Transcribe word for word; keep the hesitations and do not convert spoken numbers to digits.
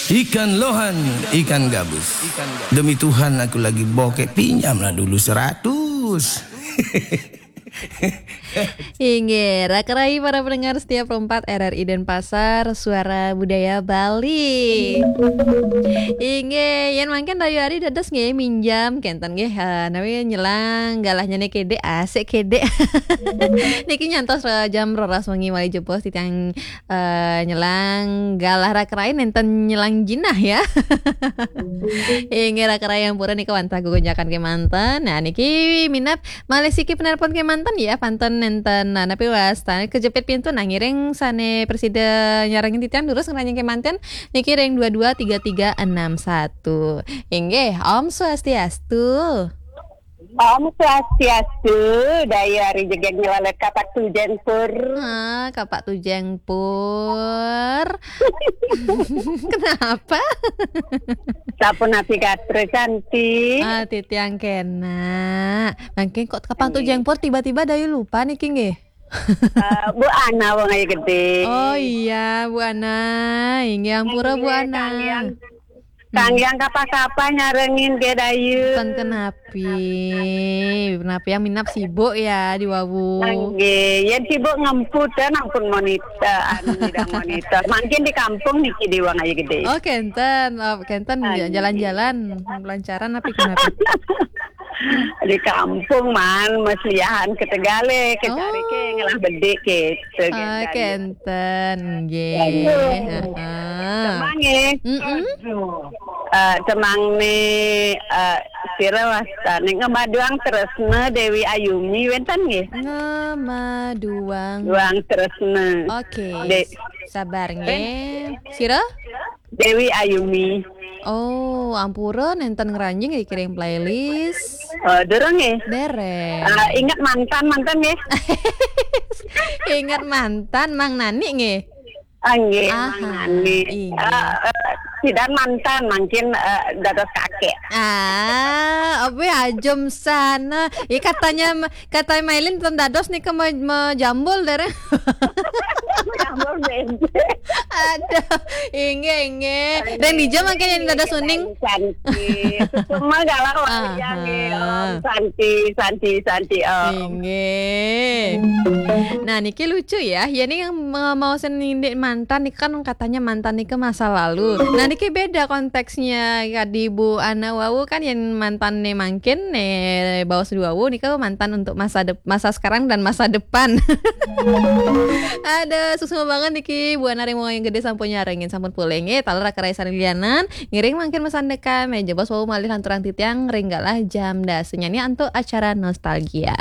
Ikan lohan, ikan gabus. Demi Tuhan, aku lagi bokek, pinjamlah dulu seratus. Inggih, raka rayi para pendengar setia Pro empat R R I Denpasar, Suara Budaya Bali. Inggih, yen mangkin rayi-rayi dados nggih minjam kenten nggih, eh, nawi nyelang galahnya nih kedek, asik kedek. Niki nyantos, eh, jam rolas wengi malih jebos titiang, eh, nyelang galah raka rayi nenten nyelang jinah ya. Inggih raka rayi ampura nika wantah gugunjakan kemanten. Nah niki minab malih siki penelpon kemanten ya, panten nenten, nah, napi wasta kejepit pintu, nah ngiring sane presida nyarengin titiang durus ngranjing kemanten niki ring dua dua tiga tiga enam satu. Inggih, Om Swastiastu. Om Swastiastu, Dayu Ari Jegeg nyelalekat Pak Tujeng Pur. Ah, Kapak Tujeng Pur. Kenapa? Sapunapi gatra Santi? Ah, titiang kena. Mangkin kok Kapak Tujeng Pur tiba-tiba Dayu lupa niki nggih? Eh, Bu Ana wong ayu gede. Oh iya, Bu Ana. Inggih ampura Bu Ana. Kang Yang kapa-kapa nyarengin ke Dayu. Ten kenapi. Kenapi yang minap sibuk ya di wawu. Nggih, yen sibuk ngemput kan ampun monitor, anu, bidang monitor. Mangkin di kampung niki di wong ayu gede. Oh, kenten. Oh, kenten jalan-jalan, lancaran napi kenapi? Di kampung man, mesiahan ke Tegale, ke cari ke ngelah bedik ke. Oh, kenten, nggih. Heeh. Temang nggih. Mm-mm. Eh, temang ni, eh, sira wastane Ngemaduang Tresna Dewi Ayumi wenten nggih? Ngemaduang. Duang Tresna. Oke. Sabar nggih. Sira? Dewi Ayumi. Oh, ampura nenten ngranjing dikirim playlist. Eh, durung nggih? Dereng. Eh, ingat mantan, mantan nggih? Ingat mantan, Mang Nani nggih? Ah, nggih, Mang Nani. Iya. Eh, eh, sidan mantan, mangkin, eh, dados kakek. Ah, apa ya, ajum sana. Ya katanya, katanya Mailin ten dados nika me, me jambul dereng. Jambul beda. Aduh, inggih, inggih. Dan di jam mangkin yang dados uning. Santi. Semua galak wayang nggih, Om. Santi, Santi, Santi, Om. Inggih. Nah, niki lucu ya. Ya ini yang mau, mau sendiri mantan nih kan katanya mantan nih ke masa lalu. Nah, niki beda konteksnya kadi Bu Ana wau kan yang mantan nih mangkin nih bawa dua wau nih ke mantan untuk masa de, masa sekarang dan masa depan. Ada suksma banget niki Bu Ana ring wong ayu gede sampun nyarengin sampun pulih nggih. Taler raka rayi sane lianan ngiring mangkin masandekan meja bos wau malih lanturang titiang ring galah jam das. Nyanyi antuk acara nostalgia.